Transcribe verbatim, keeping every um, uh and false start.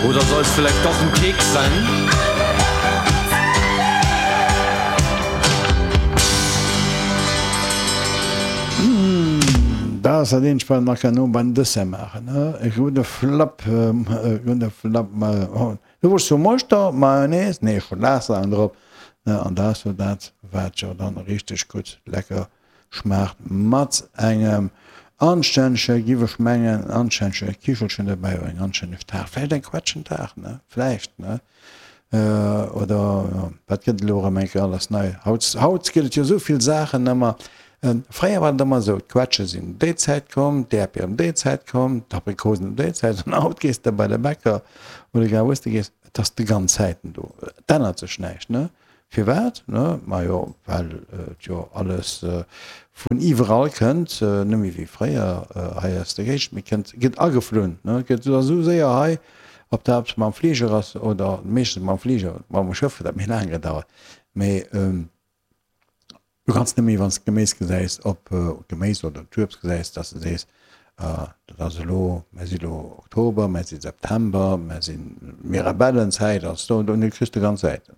Oder soll es vielleicht doch ein Keks sein? Dat ass dat eenzegt, wat een nach kann no beim Dessert maachen, ne? E gudde Flapp, e gudde Flapp, du wosst jo Moschter, Mayonnaise, nee, Schokoladsaachen drop, ne? An dat ass jo dat, wat jo dann richteg gutt lecker schmaacht mat engem anstännege, giff ech mengen, anstännege Kichelchen dobäi oder eng anstänneg Taart, vläicht eng Quetschentaart, ne? Vläicht, ne? Oder jo, wat gëtt et elo erëm eng Kéier alles nei? Haut, haut gëtt et jo esou vill Saachen ëmmer. Fréier war et ëmmer esou, d'Quetsche sinn ëm déi Zäit komm, d'Äerdbier ëm déi Zäit komm, d'Aprikosen ëm déi Zäit. An haut gees de bei de Bäcker oder egal wou s de gees, et ass déi ganz Zäiten do. Et ännert sech näischt, ne? Firwat? Majo, well et jo alles vun iwwerall kënnt, net méi wéi fréier hei aus der Géigend, mee kënnt, gëtt ageflunn, gëtt esou séier hei, ob dat mam Fliger ass oder meeschtens mam Fliger, mam Schëff huet dat méi laang gedauert, mee du kanns net méi, wann s de d'Geméis gesäis, ob d'Geméis oder d'Uebst gesäis, dass de sees, dat ass elo, mer si elo Oktober, mer si September, mer si Mirabellenzäit ass do, do kriss de ganz Säiten.